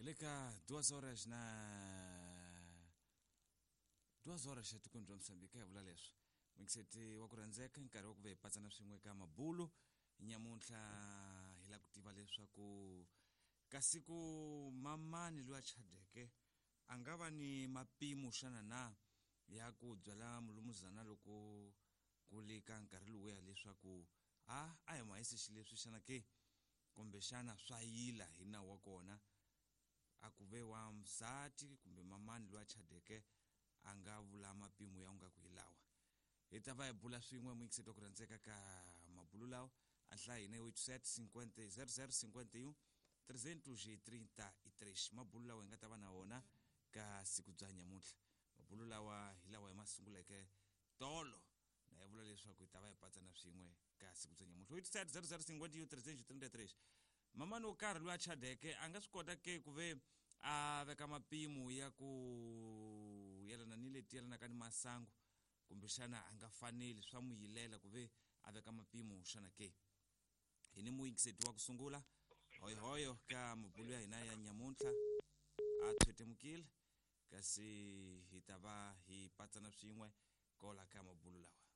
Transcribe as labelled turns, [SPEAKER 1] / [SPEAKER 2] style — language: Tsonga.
[SPEAKER 1] Hi le ka 2 horas na 2 horas etikweni bya Mozambique hi vula leswi muyingiseti wa ku rhandzeka nkarhi wa ku ve hi patsana swin'we ka mabulu nyamuntlha hi lava ku tiva leswaku kasi ku mamani loyi a chadeke a nga va ni mapimo xana na ya ku byala mulumuzana loko ku li ka nkarhi lowuya leswaku a a hi mahisi xileswi xana ke kumbexana swa yila hi nawu wa kona a ku ve wa msati kumbe mamani loyi a chadeke a nga vula mapimo ya nga ku hi lawa hi ta va hi bula swin'we muyingiseti wa ku rhandzeka ka mabulu lawa a nhlaya hina 87 50 00 51 333 mabulu lawa hi nga ta va na wona ka siku bya nyamuntlha mabulu lawa hi lawa hi ma sunguleke tolo na hi vula leswaku hi ta va hi patsana swin'we ka siku bya nyamuntlha 87 00 51 333 mamani wo karhi loyi a chadeke a nga swi kota ke ku ve a veka mapimo ya ku yelana ni leti yelanaka ni masangu kumbexana a nga faneli swa n'wi yilela ku ve a veka mapimo xana ke hi ni muyingiseti wa ku sungula hoyohoyo ka mabulu ya hina ya nyamuntlha a thwetemukile kasi hi ta va hi patsana swin'we kola ka mabulu lawa.